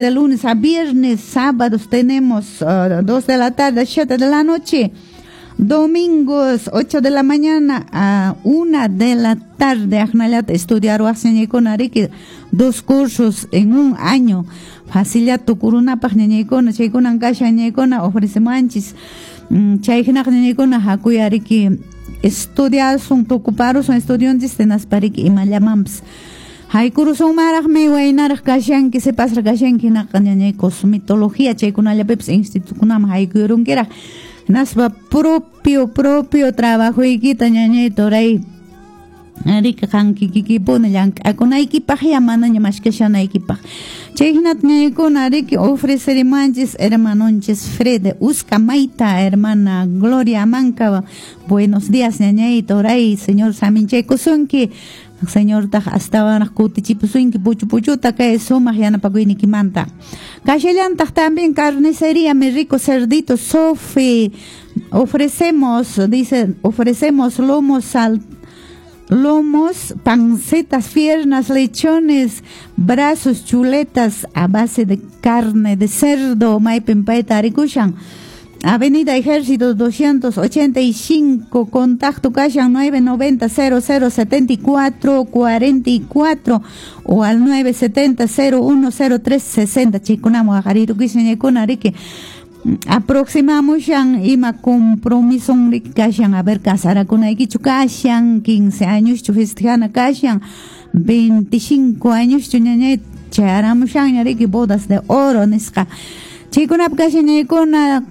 De lunes a viernes, sábados tenemos 2 de la tarde a 7 de la noche. Domingos 8 de la mañana a 1 de la tarde. Ajnallata estudiar ñañaykuna riki, dos cursos en un año. Facilata tukurunapaq, ñañaykuna, chaykunan kashan, ñañaykuna, ofrecemanchis. Chay hinaqa, ñañaykuna, hakuya riki estudiasun, tukuparusun estudionchis, hinaspa riki imallamanpas haykurusunmaraqmi. Waynaraq kashanki, sipasraq kashanki hinaqa, ñañay, cosmetología chaykunallapipas institutokunaman haykuyrunkiraq, hinaspa propio trabajoykita, ñañay, turay, riki qan kikikipuni llank'akunaykipaq, ya manaña mashkashanaykipaq. Chay hinata, ñañaykuna, riki ofrecerimanchis hermanonchis Fred Uscamayta, hermana Gloria Manca. Buenos días, ñañay, turay, Señor saminchaykusunki, Señortaq astawanraq kutichipusunki puchu puchuta kay sumaq yanapakuynikimanta. Kashallantaq también carnicería Mi Rico Cerdito Sofi. Ofrecemos, dice, ofrecemos lomos sal, lomos, pancetas, piernas, lechones, brazos, chuletas a base de carne de cerdo. Maypin payta tarikushan? Avenida Ejército 285, contacto kashan 990 00 74 44 o al 970 0103 60. Chaykunaman waqarirukushan, ñañaykuna, riki aproximamushan ima compromiso riki kashan, a ver, casarakunaykichu kashan, 15 años festejana kashan, 25 años, ñañay, chayaramushanña riki bodas de oro nisqa, chaykunapi kashan, ñañaykuna.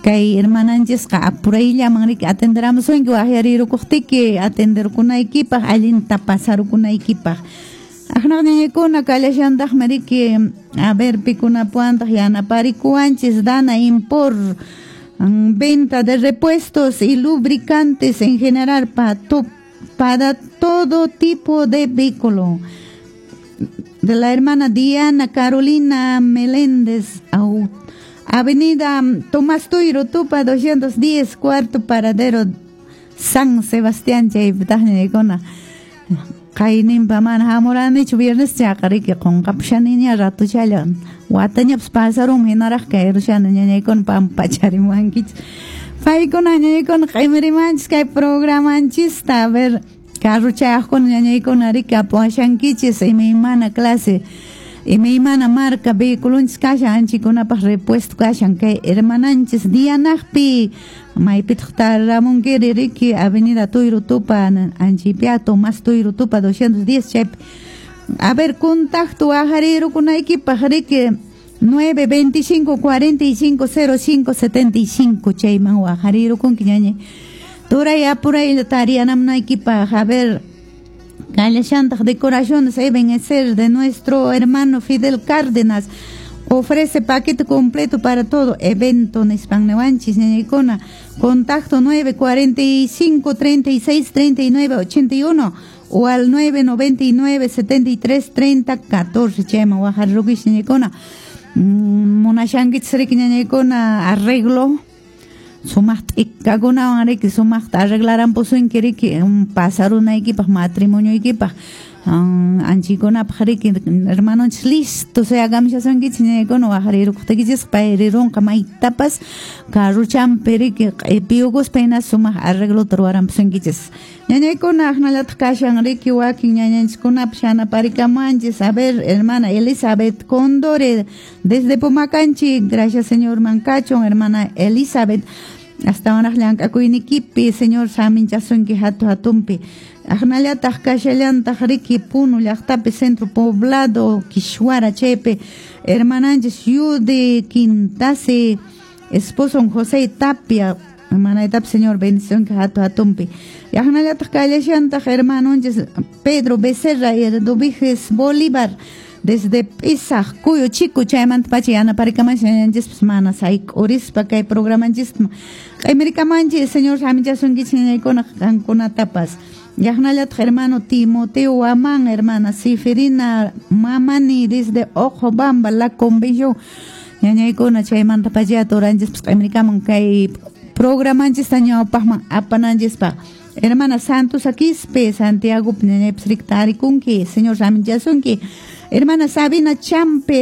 Kay hermananchisqa apurayllaman riki atenderamusunki waqyarirukuqtiki atenderkunaykipaq, allinta pasarukunaykipaq. Aqnaq, ñañaykuna, kallashantaqmi riki, a ver, pikunapuwantaq yanaparikuwanchis. Dana Impor, venta de repuestos y lubricantes en general para todo tipo de vehículo, de la hermana Diana Carolina Meléndez, Avenida Tomás Tuyro Tupa 210, cuarto paradero, San Sebastián. Chaypitaq, ñañaykuna, qayninpa mana hamuranichu viernes chaqa riki qunqapushaniña ratuchalla, watañapas pasarunmi hinaraq kayrushani, ñañaykuna, pampacharimuwankichis. Paykuna, ñañaykuna, q'imirimanchis kay programanchista. A ver, carruchayaqkuna, ñañaykuna, riki apuwashankichis imaymana clase, imaymana marca vehiculonchis kashan, anchikunapaq repuesto kashan kay hermananchis Dianaqpi. Maypitaq taramunkiri riki? Avenida Tuyru Tupa anchipia, Tomás Tuyru Tupa 210 chaypi. A ver, contacto waqarirukunaykipaq riki 925 45 05 75, chayman waqarirukunki, ñañay, turay, apuraylla tarianamunaykipaq. A ver, kallashantaq decoraciones Ebenezer de nuestro hermano Fidel Cárdenas. Ofrece paquete completo para todo evento nispan niwanchis, ñañaykuna. Contacto 945 36 39 81 o al 999 73 30 14. Chayman waqarirukichis, ñañaykuna. Munashankichis riki, ñañaykuna, arreglo sumaq t'ikakunawan riki sumaqta arreglarampusunki riki pasarunaykipaq, matrimonioykipaq, anchikunapaq riki hermanonchis listo suyakamushasunkichis, ñañaykuna. Waqarirukuqtiykichisqa pay rirunqa maytapas carruchampi riki q'ipiyukuspa, hina sumaq arreglota ruwarampusunkichis, ñañaykuna. Aqnallataq kashan riki wakin ñañanchiskunapas yanaparikamuwanchis. A ver, hermana Elizabeth Condore desde Pomacanchi. Gracias Señor mankachun, hermana Elizabeth, astawanraq llank'akuynikipi Señor saminchasunki hatu hatunpi. Aqnallataq kashallantaq riki Puno llaqtapi, Centro Poblado Kishuara chaypi, hermananchis Yude Quintase, esposo José Tapia. Hermanaytapas Señor bendición hatu hatunpi. Aqnallataq kallashantaq hermanonchis Pedro Becerra y Eduviges Bolívar desde Pisaq Cuyo Chico, chaymanta pacha yanaparikamanchis ñañanchispas mana sayk'urispa kay programanchista q'imirikamanchis. Señor saminchasunkichis, ñañaykuna, qankunatapas. Aqnallataq hermano Timoteo Huamán, hermana Siferina Mamani desde Ojobamba, La Convención, ñañaykuna, chaymanta pacha turanchispas q'imirikamun kay programanchista ñawpaqman apananchispaq. Hermana Santos Aquispe, Santiago, ñañaypas riki tarikunki, Señor saminchasunki. Hermana Sabina Champe.